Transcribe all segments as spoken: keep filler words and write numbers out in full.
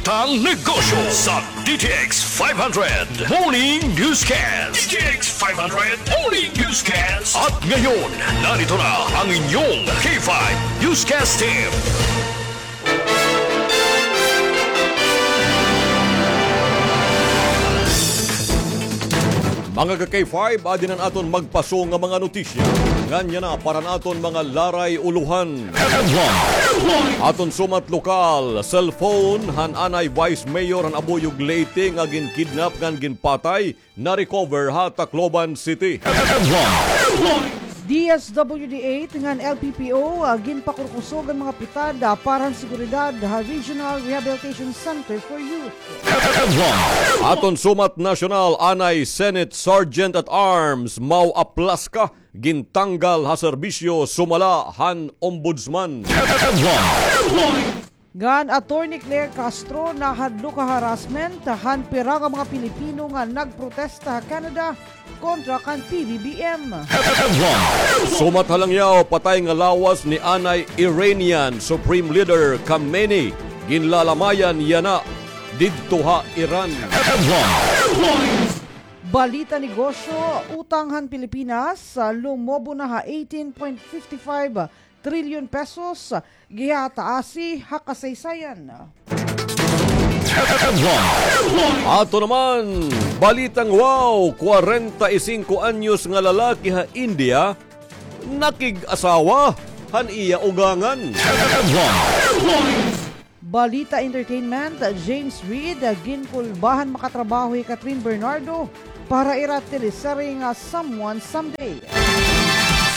Tang Negosyo sa D T X five hundred Morning Newscast. D T X five hundred Morning Newscast. At ngayon, narito na ang inyong K five Newscast Team. Mga ka-K five, adi na an aton magpaso nga mga notisya. Ngan yana para han aton mga laray ulohan. Aton sumat lokal, cellphone han anay Vice Mayor han Abuyog, Leyte nga ginkidnap ngan ginpatay, na-recover ha Tacloban City. D S W D eight ngan L P P O, ah, ginpakurkusog an mga pitad, ah, para han seguridad ha Regional Rehabilitation Center for Youth. Aton sumat nasyonal, anay Senate Sergeant at Arms Mau Aplasca gintanggal ha serbisyo sumala han Ombudsman. Ngan Attorney Claire Castro nahadlok ha harassment han pira nga mga Pilipino nga nagprotesta ha Canada kontra kan P B B M. Sumat ha Langiao, patay nga lawas ni anay Iranian Supreme Leader Khamenei, ginlalamayan yana didto ha Iran. Balita negosyo, utang han Pilipinas, ah, lumobo na ha eighteen point fifty five trilyon pesos, gihataasi ha kasaysayan. Ato naman, balitang wow, kwarenta y singko anyos nga lalaki ha India, nakig-asawa han iya ugangan. Balita entertainment, James Reid, ginkulba han makatrabaho hi Kathryn Bernardo para ira teleserye nga Someone Someday.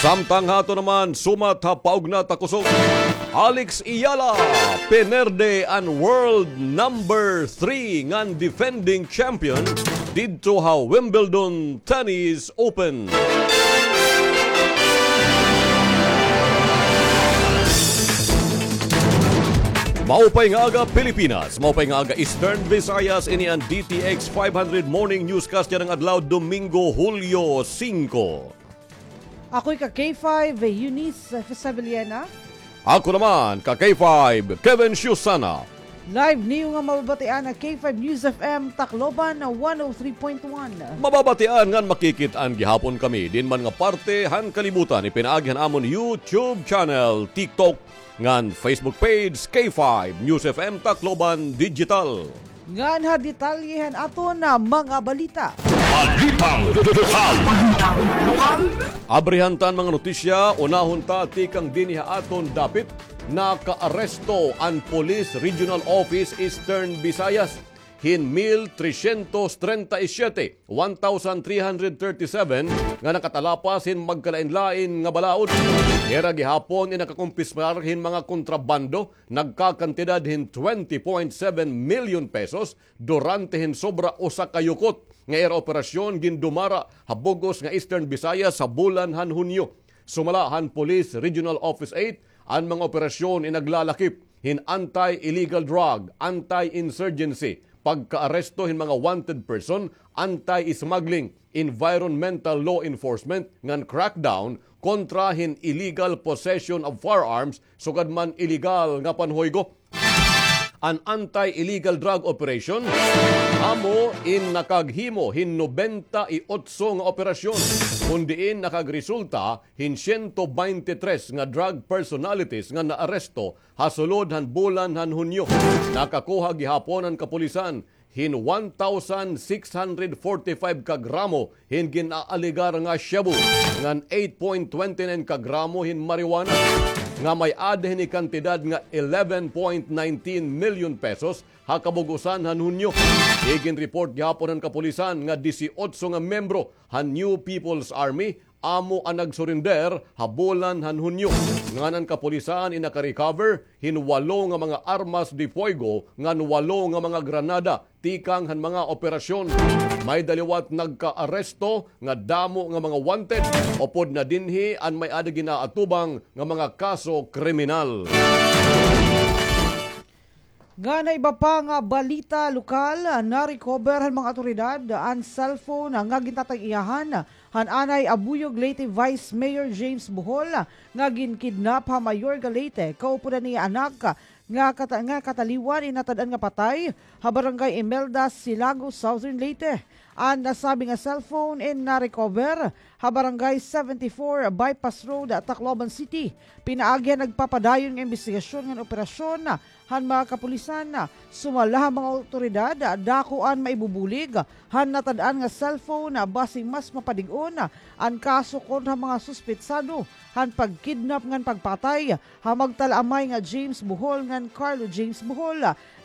Samtang ha ato naman, sumat ha paugnat ha kusog, Alex Eala, pinerde an world number three ngan defending champion didto ha Wimbledon Tennis Open. Maupay nga aga, Pilipinas. Maupay nga aga, Eastern Visayas. Ini an D T X five hundred Morning Newscast yana nga adlaw, Domingo, Hulyo singko. Ako'y ka K five, Eunice Fisabiliana. Ako naman, ka K five, Kevin Siusana. Live niyo nga mababatian ha K five News F M Tacloban na one oh three point one. Mababatian ngan makikit-an gihapon kami diin man nga parte han kalibutan, ipinaagi han amon YouTube channel, TikTok, ngan Facebook page, K five News F M Tacloban Digital. Ngan ha detalye han aton nga mga balita. Balitang lokal. Abrihan ta an mga notisya, unahon ta tikang dinhi ha aton dapit. Nakaaresto an Police Regional Office Eastern Visayas hin mil tresyentos trenta y siyete, one thousand three hundred thirty-seven, nga nakatalapas hin magkalain-lain nga balaod. Hira gihapon in nakakumpiskar hin mga kontrabando nagkakantidad hin twenty point seven milyon pesos durante hin sobra usa ka yukot nga ira operasyon gindumara ha bug-os nga Eastern Visayas ha bulan han Hunyo. Sumala han Police Regional Office eight, an mga operasyon in naglalakip hin anti-illegal drug, anti-insurgency, pagkaaresto hin mga wanted person, anti-smuggling, environmental law enforcement ngan crackdown kontra hin illegal possession of firearms sugad man illegal nga panhuygo. An anti-illegal drug operation amo in nakaghimo hin nobenta y otso nga operasyon, kon diin nakagresulta hin siyento baynte tres nga drug personalities nga naaresto ha sulod han bulan han Hunyo. Nakakuha gihapon an kapulisan hin one thousand six hundred forty-five ka gramo hin gin-aalegar nga shabu, ngan eight point twenty nine ka gramo hin marijuana, nga may-ada hini kantidad nga eleven point nineteen milyon pesos ha kabug-osan han Hunyo. Iginreport gihapon han kapulisan nga disiotso nga miyembro han New People's Army amo an nagsurinder ha bulan han Hunyo. Ngan an kapulisan in nakarecover hin walo nga mga armas de fuego ngan walo nga mga granada tikang han mga operasyon. May da liwat nagkaaresto nga damo nga mga wanted, upod na dinhi an may-ada gin-aatubang nga mga kaso kriminal. Ngan ha iba pa nga balita lokal, na-recover han mga awtoridad an cellphone nga gintatag-iyahan han anay Abuyog, Leyte Vice Mayor James Bohol, nga ginkidnap ha Mayorga, Leyte, kaupod an iya anak nga kata-, nga kataliwan in natad-an nga patay ha Barangay Imelda, Silago, Southern Leyte. An nasabi nga cellphone in na-recover ha Barangay seventy-four Bypass Road, Tacloban City. Pinaagi han nagpapadayon nga imbestigasyon ngan operasyon han mga kapulisan. Sumala ha mga awtoridad, dako an maibubulig han natad-an nga cellphone, basi mas mapadig-on an kaso kontra mga suspetsado han pagkidnap ngan pagpatay ha magtalaamay nga James Bohol ngan Carlo James Bohol.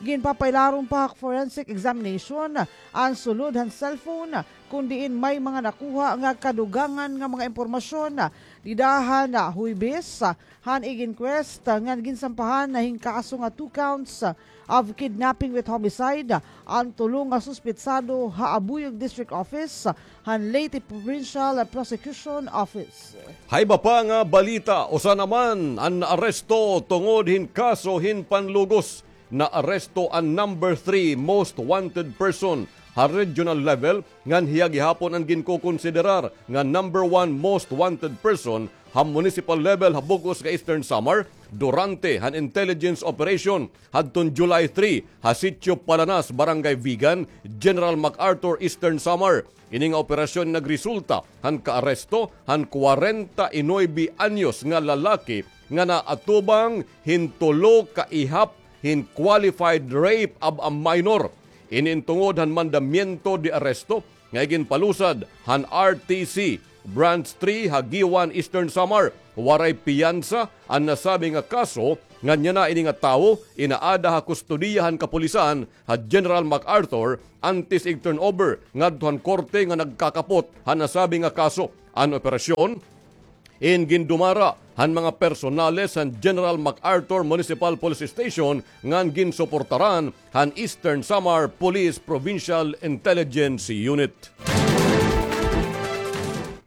Ginpapailarom pa ha forensic examination an sulod han cellphone, kon diin may mga nakuha nga kadugangan nga mga impormasyon. Dida han Huwebes han ig-inquest ngan ginsampahan hin kaso nga two counts of kidnapping with homicide an tulo nga suspetsado ha Abuyog District Office han Leyte Provincial Prosecution Office. Ha iba pa nga balita, usa naman an naaresto tungod hin kaso hin panlugos. Naaresto an number three most wanted person ha regional level, ngan hiya gihapon an ginkokonsiderar nga number one most wanted person ha municipal level ha bug-os nga Eastern Samar durante han intelligence operation hadton July three ha Sitio Palanas, Barangay Vigan, General MacArthur, Eastern Samar. Ini nga operasyon nagresulta han kaaresto han kwarenta y nuebe anyos nga lalaki nga naatubang hin tulo ka ihap hin qualified rape of a minor. Ini in tungod han mandamiento de arresto nga iginpalusad han R T C Branch three ha Guiuan, Eastern Samar. Waray piyansa an nasabi nga kaso, ngan yana ini nga tawo inaada ha kustodiya han kapulisan ha General MacArthur antes ig-turnover ngadto han korte nga nagkakapot han nasabi nga kaso. An operasyon in gindumara han mga personales han General MacArthur Municipal Police Station ngan ginsuportaran han Eastern Samar Police Provincial Intelligence Unit.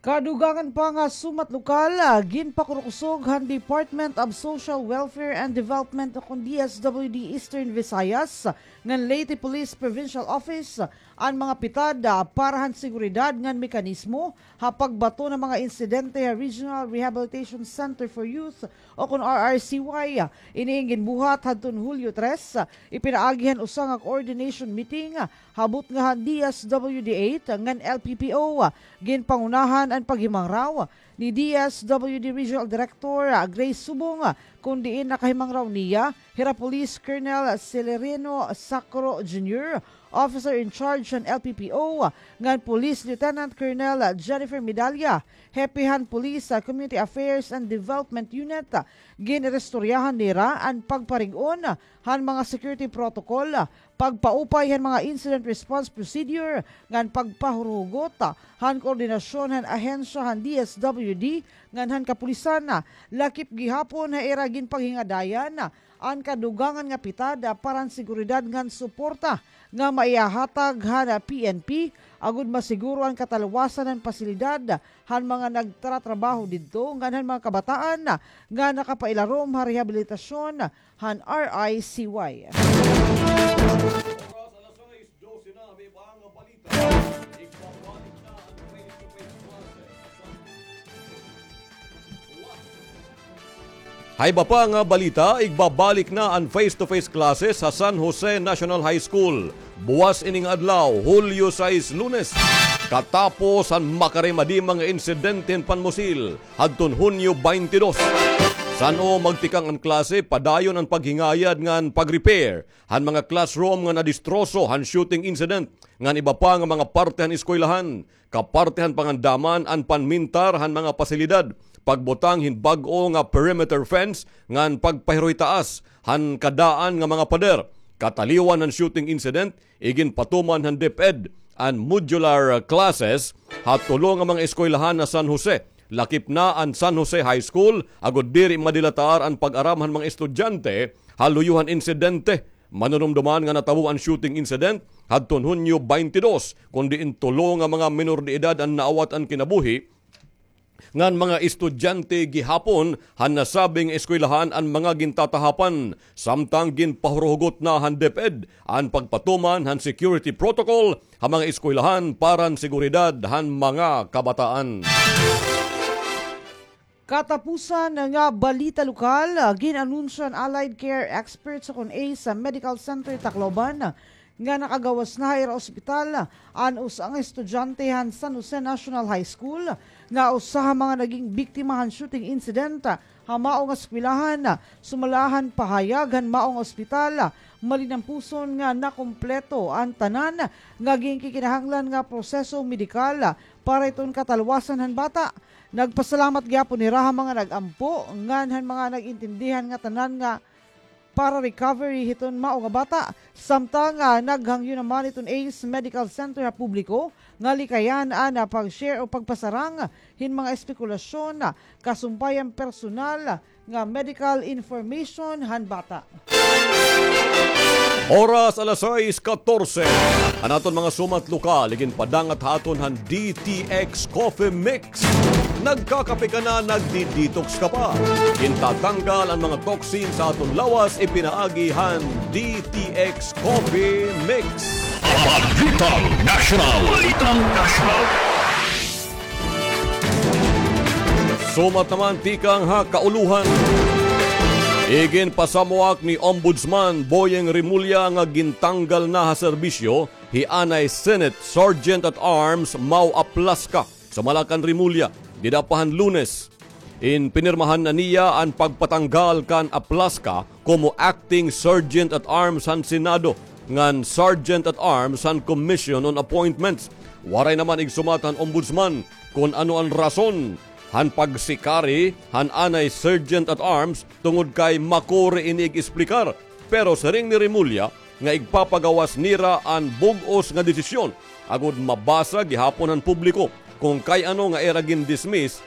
Kadugangan pa nga sumat lokal, ah, ginpakurukusog han Department of Social Welfare and Development o kon D S W D Eastern Visayas ngan Leyte Police Provincial Office an mga pitad, ah, para han seguridad ngan mekanismo ha pagbaton han mga insidente ha Regional Rehabilitation Center for Youth o kon R R C Y. Ini in ginbuhat hadton Hulyo tres, ipinaagi han usa nga coordination meeting ha butnga han D S W D eight ngan L P P O. Ginpangunahan an paghimangraw ni D S W D Regional Director Grace Subong, kon diin nakahimangraw niya hira Police Colonel Celerino Sacro Junior, Officer in Charge han L P P O, ngan Police Lieutenant Colonel Jennifer Medalla, Hepe han Police, ah, Community Affairs and Development Unit. Gin-iristoryahan nira an pagparig-on han mga security protocol, pagpaupay han mga incident response procedure, ngan pagpahuruhugot han koordinasyon han ahensya han D S W D ngan han kapulisan. Lakip gihapon ha ira ginpanghingadayan an kadugangan nga pitad para han seguridad ngan suporta nga maihahatag han P N P agod masiguro an katalwasan han pasilidad han mga nagtratrabaho didto ngan han mga kabataan nga nakapailarom ha rehabilitasyon han R I C Y. Ha iba pa nga balita, igbabalik na an face-to-face classes ha San Jose National High School. Buwas ini nga adlaw, Hulyo sais, Lunes. Katapos han makaremadima nga insidente hin panmusil, hadton Hunyo baynte dos. San-o magtikang an klase, padayon an paghingayad ngan pag-repair han mga classroom nga nadistroso han shooting incident, ngan iba pa nga mga parte han eskwelahan. Kaparte han pangandaman an panmintar han mga pasilidad, pagbutang hin bag-o nga perimeter fence ngan pagpahiroy taas han kadaan nga mga pader. Kataliwan han shooting incident, iginpatuman han DepEd an modular classes ha tulo nga mga eskwelahan ha San Jose. Lakip na an San Jose High School, agod diri madilatar an pag-aram han mga estudyante ha luyo han insidente. Manunumdoman nga natabo an shooting incident hadton Hunyo baynte dos, kon diin tulo nga mga menor de edad an naawat an kinabuhi, ngan mga estudyante gihapon han nasabi nga eskwelahan an mga gintatahapan, samtang ginpahuruhugot na han DepEd an pagpatuman han security protocol ha mga eskwelahan para han seguridad han mga kabataan. Katapusan nga balita lokal, gin-anunsyo han Allied Care Experts ukon ACE Medical Center Tacloban nga nakagawas na ha ira ospital an usa nga estudyante han San Jose National High School nga usa ha mga naging biktima han shooting incident ha mao nga eskwelahan. Sumala han pahayag han mao nga ospital, malinampuson nga nakumpleto an tanan nga ginkikinahanglan nga proseso medikal para hiton katalwasan han bata. Nagpasalamat gihapon hira ha mga nag-ampo ngan han mga nag-intindihan nga tanan nga para recovery hiton mao nga bata. Samtang, ah, naghangyo naman hiton ACE Medical Center ha publiko nga likayan an, ah, pag-share o pagpasarang hin mga espekulasyon, ah, kasumpay an personal nga medical information han bata. Oras alas sais katorse. An aton mga sumat lokal, iginpadangat ha aton han D T X Coffee Mix. Nagkakape ka na, nagdi-detox ka pa. Gintatanggal an mga toxin sa aton lawas, ipinaagi han D T X Coffee Mix. Balitang Nasyonal. Balitang Nasyonal. Sumat naman tikang ha kaulohan. Iginpasamuak ni Ombudsman Boyeng Remulla nga gintanggal na ha serbisyo hi anay Senate Sergeant at Arms Mau Aplasca. Sumala kan Remulla, dida pa han Lunes, ginpirmahan na niya an pagpatanggal kan Aplasca komo Acting Sergeant at Arms han Senado ngan Sergeant at Arms han Commission on Appointments. Waray naman igsumat han Ombudsman kon ano an rason han pagsikari han anay Sergeant at Arms tungod kay makuri ini ig-esplikar. Pero siring ni Remulla nga igpapagawas nira an bug-os nga desisyon agod mabasa gihapon han publiko kon kay ano nga ira gin-dismiss